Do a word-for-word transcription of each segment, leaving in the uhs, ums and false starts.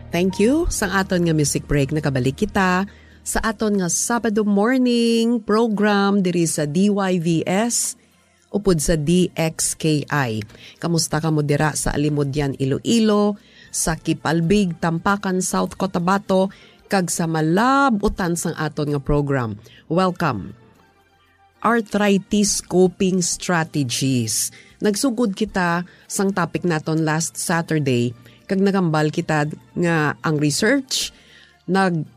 Thank you. Sang aton nga music break, nakabalik kita sa aton nga Sabado morning program diri sa D Y V S upod sa D X K I. Kamusta kamo dira sa Alimodian, Iloilo, sa Kipalbig, Tampakan, South Cotabato, kag sa malab-utan sang aton nga program? Welcome. Arthritis coping strategies. Nagsugod kita sang topic naton last Saturday, kag nagambal kita nga ang research nag,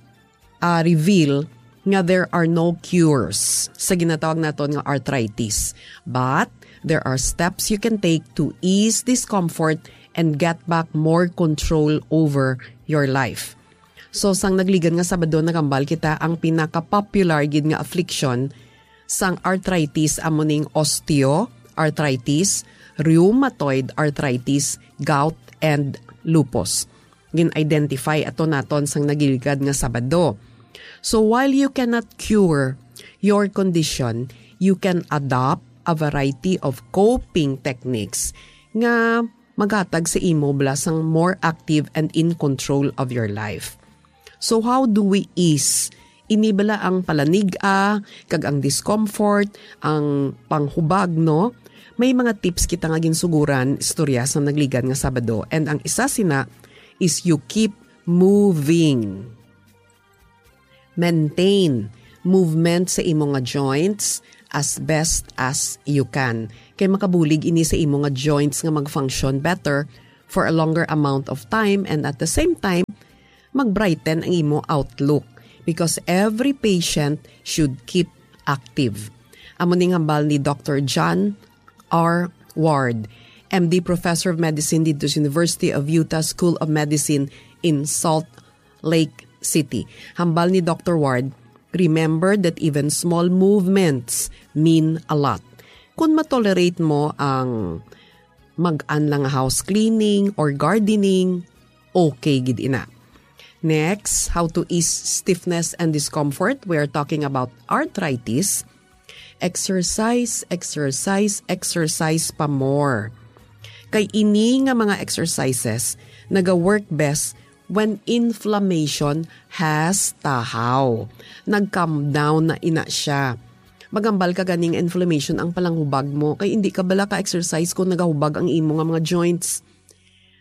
ah, reveal nga there are no cures sa ginatawag naton nga arthritis. But there are steps you can take to ease discomfort and get back more control over your life. So, sang nagligad nga Sabado, nagambal kita ang pinaka-popular gid nga affliction sang arthritis, amo ning osteoarthritis, rheumatoid arthritis, gout, and lupus. Gin-identify ato naton sang nagligad nga Sabado. So, while you cannot cure your condition, you can adopt a variety of coping techniques nga maghatag sa imo bala sang more active and in control of your life. So, how do we ease? Ini bala ang palanig-a, kag ang discomfort, ang panghubag, no? May mga tips kita nga ginsuguran istorya sa nagligad nga Sabado. And ang isa sina is you keep moving. Maintain movement sa imo nga joints as best as you can. Kay makabulig ini sa imo nga joints nga mag-function better for a longer amount of time, and at the same time, mag-brighten ang imo outlook, because every patient should keep active. Amo ning hambal ni Doctor John R Ward, M D, Professor of Medicine dito sa University of Utah School of Medicine in Salt Lake City. Hambal ni Doctor Ward, "Remember that even small movements mean a lot." Kung matolerate mo ang mag-an lang house cleaning or gardening, okay gid ina. Next, how to ease stiffness and discomfort. We are talking about arthritis. Exercise, exercise, exercise pa more. Kay ini nga mga exercises naga-work best when inflammation has tahaw. Nag-calm down na ina siya. Magambal ka ganing inflammation ang palanghubag mo, kay hindi ka bala ka-exercise kung nagahubag ang imo nga mga joints.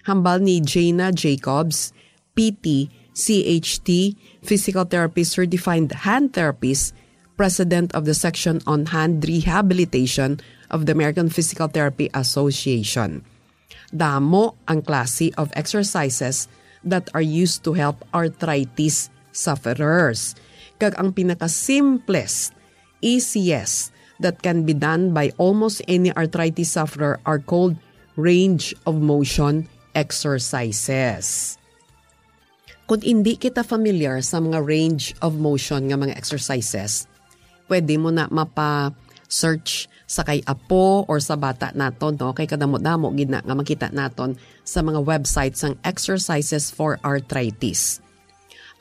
Hambal ni Jana Jacobs, P T, C H T, physical therapist, certified hand therapist, president of the Section on Hand Rehabilitation of the American Physical Therapy Association. Damo ang klase of exercises that are used to help arthritis sufferers. Kag ang pinakasimplest, easiest, that can be done by almost any arthritis sufferer are called range of motion exercises. Kung hindi kita familiar sa mga range of motion nga mga exercises, pwede mo na mapa-search sa kay apo or sa bata naton, no? Kay kadamo-damo gid na nga makita naton sa mga website sang exercises for arthritis.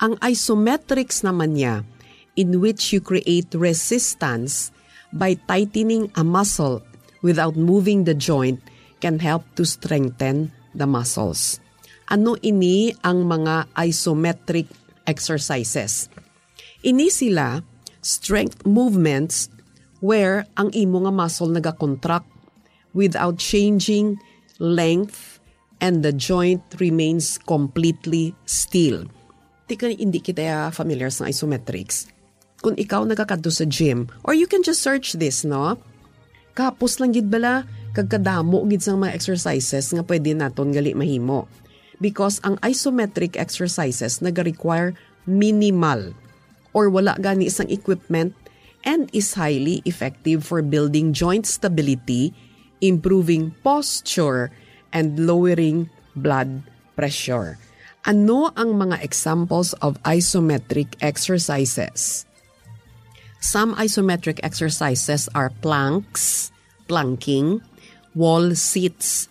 Ang isometrics naman niya, in which you create resistance by tightening a muscle without moving the joint, can help to strengthen the muscles. Ano ini ang mga isometric exercises? Ini sila strength movements where ang imo nga muscle nagakontract without changing length and the joint remains completely still. Di ka, hindi kita familiar sa isometrics. Kung ikaw nagakadto sa gym, or you can just search this, no? Kapos lang gid bala, kag kadamo gid sang mga exercises nga pwede naton gali mahimo. Because ang isometric exercises naga-require minimal or wala gani sang equipment and is highly effective for building joint stability, improving posture, and lowering blood pressure. Ano ang mga examples of isometric exercises? Some isometric exercises are planks, planking, wall sits,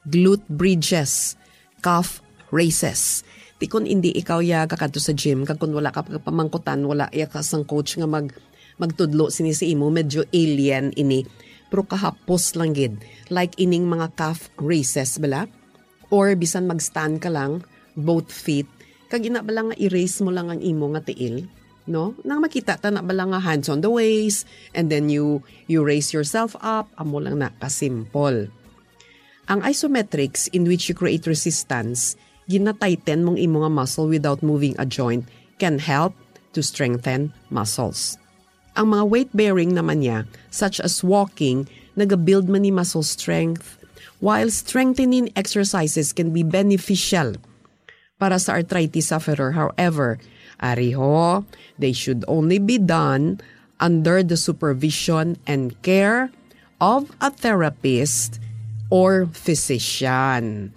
glute bridges, calf raises. Ti kon indi ikaw ya kakadto sa gym, kag kon wala ka pamangkutan, wala ya ka sang coach nga mag-, magtudlo sini sa imo, medyo alien ini. Pero kahapos lang gid. Like ining mga calf raises, bala? Or bisan mag-stand ka lang, both feet, Kag ina bala nga i-raise mo lang ang imo nga tiil, no? Nang makita ta na bala nga hands on the waist, and then you you raise yourself up, amo lang na ka simple. Ang isometrics, in which you create resistance, ginatighten mong imo nga muscle without moving a joint, can help to strengthen muscles. Ang mga weight-bearing naman niya, such as walking, nagabuild man ni muscle strength, while strengthening exercises can be beneficial para sa arthritis sufferer. However, ariho, they should only be done under the supervision and care of a therapist or physician.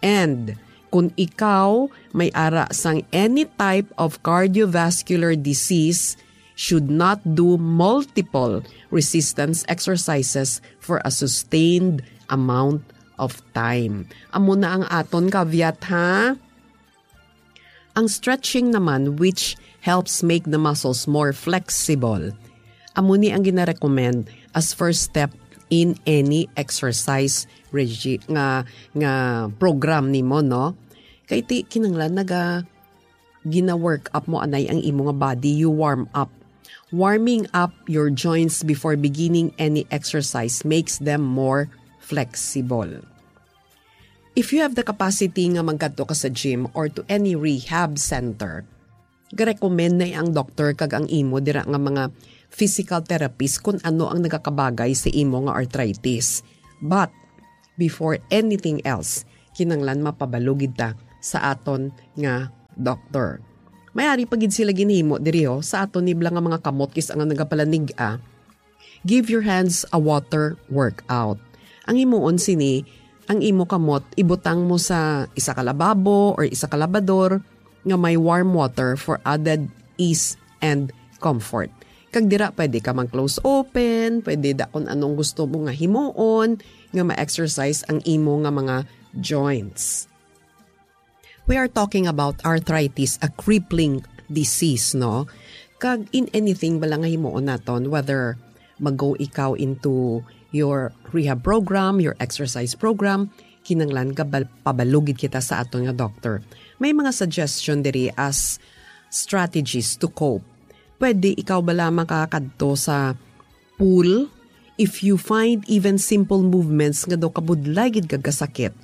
And kung ikaw may ara sang any type of cardiovascular disease, should not do multiple resistance exercises for a sustained amount of time. Amo na ang aton caveat, ha? Ang stretching naman, which helps make the muscles more flexible, amo ni ang ginarecommend as first step in any exercise regi-, nga, nga program nimo, no? Kay ti kinanglan naga gina-work up mo anay ang imo nga body, you warm up. Warming up your joints before beginning any exercise makes them more flexible. If you have the capacity nga magkadto ka sa gym or to any rehab center, ga-recommend na ang doktor kag ang imo dira nga mga physical therapist kung ano ang nagakabagay sa imo nga arthritis. But before anything else, kinanglan mapabalugid ta sa aton nga doktor. May ari pa gid sila ginhimo diri, oh, sa aton nibla nga mga kamot kis ang nagapalanig-a. Give your hands a water workout. Ang himuon sini, ang imo kamot ibutang mo sa isa ka lababo or isa ka labador nga may warm water for added ease and comfort. Kag dira pwede ka mag-close open, pwede da kung anong gusto mo nga himuon nga ma-exercise ang imo nga mga joints. We are talking about arthritis, a crippling disease, no? Kag in anything bala nga himuon naton, whether mag-go ikaw into your rehab program, your exercise program, kinanglan ka bal-, pabalugid kita sa aton nga doktor. May mga suggestion diri as strategies to cope. Pwede ikaw bala makakadto sa pool, if you find even simple movements nga daw kabudlay gid kag kasakit.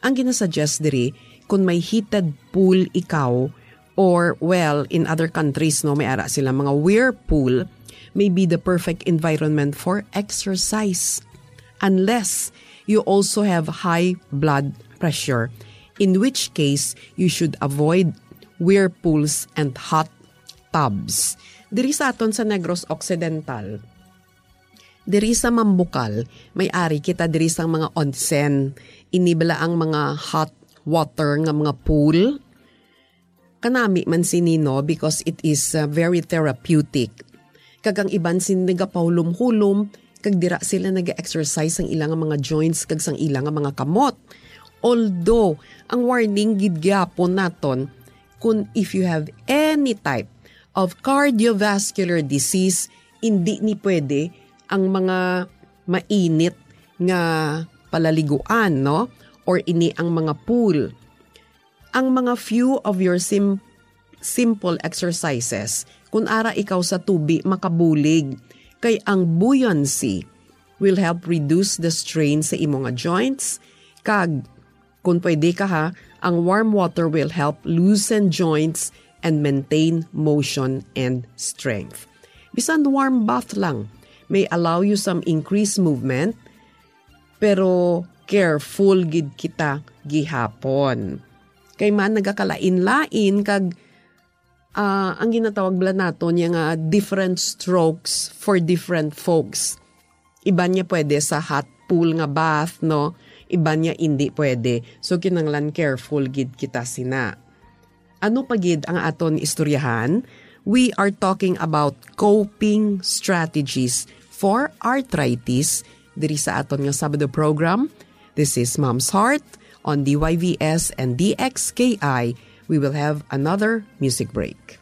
Ang ginasuggest diri, kung may heated pool ikaw, or, well, in other countries, no, may ara sila mga whirlpool, may be the perfect environment for exercise. Unless you also have high blood pressure, in which case you should avoid whirlpools and hot tubs. Diri sa aton sa Negros Occidental, diri sa Mambukal, may ari kita diri sang mga onsen. Ini bala ang mga hot water nga mga pool. Kanami man sini, no, because it is, uh, very therapeutic. Kag ang iban sini nagapahulom-hulom, kag dira sila nag-exercise sang ila nga mga joints kag sang ila nga mga kamot. Although, ang warning gid gyapon naton, kung if you have any type of cardiovascular disease, hindi ni pwede ang mga mainit nga palaliguan, no? Or ini ang mga pool. Ang mga few of your sim-, simple exercises, kung ara ikaw sa tubi, makabulig. Kay ang buoyancy will help reduce the strain sa imo nga joints. Kag, kung pwede ka ha, ang warm water will help loosen joints and maintain motion and strength. Bisan warm bath lang may allow you some increased movement, pero careful gid kita gihapon. Kay man nagakalain-lain kag, ah, ang ginatawag bala naton niya nga different strokes for different folks. Iban niya pwede sa hot pool nga bath, no? Iban niya indi pwede. So, kinanglan careful gid kita sina. Ano pa gid ang aton istoryahan? We are talking about coping strategies for arthritis diri sa aton nga Sabado program. This is Mom's Heart on D Y V S and D X K I. We will have another music break.